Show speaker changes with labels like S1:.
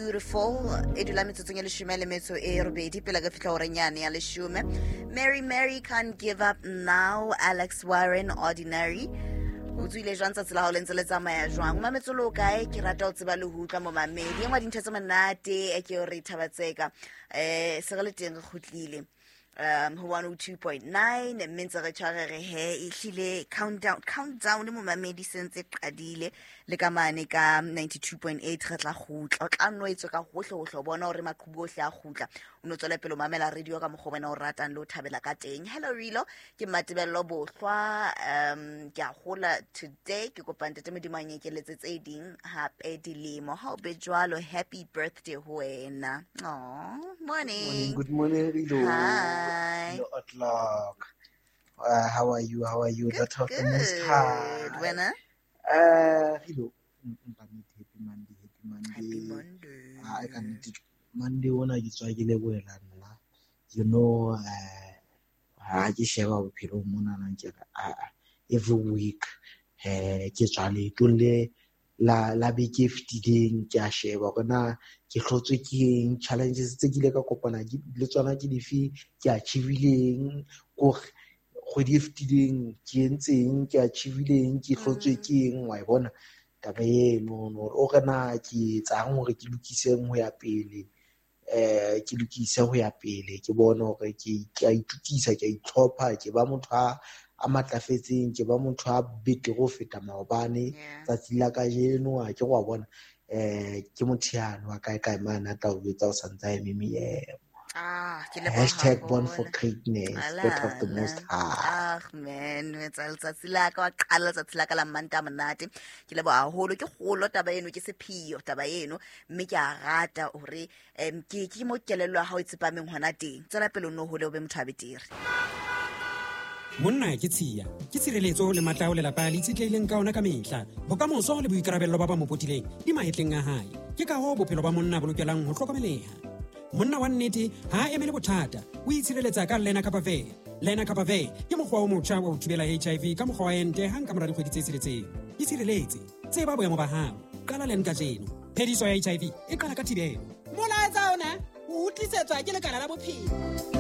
S1: Beautiful e dula metsotsong e leshome le metso e robedi pele ka fitlha goreng yane ya leshome. Mary Mary, Can't Give Up Now, Alex Warren, Ordinary. O tswile jwang tsatsi la gago le ntse le tsamaya jwang? O mametse le o kae? Ke rata o tseba le ho utlwa momamedi. E nngwe dintho tse monate e ke re thabatseka um se re le teng re kgutlile ho 102.9, mme ntse re tshware re he ehlile countdown, countdown momamedi se ntse qadile le ka mane ka 92.8. Re tla kgutla, o tla nno etswe ka hohle hohle o bona hore maqhubu ohle a kgutla. O no tswele pele o mamela radio ka mokgwa wena o ratang le o thabela ka teng. Hello Rilo, ke Mmatebello Bohlwa. Ke a hola today, ke kopa Ntate Modimo a nyekeletse tse ding hape dilemo. Ha o be jwalo, happy birthday ho wena. Aw, morning.
S2: Morning, good morning, Rilo.
S1: Hi.
S2: Rilo o'clock. How are you? How are you?
S1: Good,
S2: Daughter of the Most
S1: good.
S2: High.
S1: Wena?
S2: Rilo, happy Monday, happy Monday.
S1: Happy Monday.
S2: Ah, ka nnete, Monday ona ke tswa ke lebohela nna. You know, ha ke sheba bophelong monana ke re, ah, every week, ke tswa leetong le la beke e fetileng, ke a sheba hore na ke hlotswe ke eng, challenges tse ke ile ka kopana le tsona ke dife, ke achieve-ileng, kore kgwedi e fetileng ke entseng, ke achieve-ileng, ke hlotswe ke eng, wa e bona taba eno, hore o re na ke etsang hore ke lokiseng ho ya pele, ke lokise ho ya pele, ke bone hore ke a itokisa, ke a itlhopha, ke ba motho a matlafetseng, ke ba motho a betere ho feta maobane. Tsatsi la kajeno a ke wa bona, ke motho yane wa kae kae mane a tla o jwetsa o santse a eme meemo.
S1: Ah, ke leboha
S2: Hashtag born for
S1: haholo.
S2: greatness, daughter of the Most High.
S1: Ah, man, o etsa letsatsi la ka, wa qala letsatsi la ka la Manta monate. Ke leboha haholo, ke kgolo taba eno, ke sepheo taba eno, mme ke a rata hore ke mo kelello ya hao e tsepameng hona teng. Tswela pele o nno hole o be motho a betere.
S3: Monna ke tshiya, ke tshireletso le matla ao lelapa le itshetlehileng ka ona ka mehla. Bokamoso le boikarabello ba ba mo potileng di mahetleng a hae. Ke ka hoo bophelo ba monna bo lokelang ho hlokomeleha. Monna wa nnete ha a emele bothata, o itshireletsa ka Lenacapavir. Lenacapavir ke mokgwa o motjha wa ho thibela HIV ka mokgwa wa ente hang ka mora dikgwedi tse tsheletseng. Itshireletse, tseba boemo ba hao, qala len kajeno. Phediso ya HIV e qala ka thibelo. Molaetsa ona o tlisetswa ke lekala la bophelo.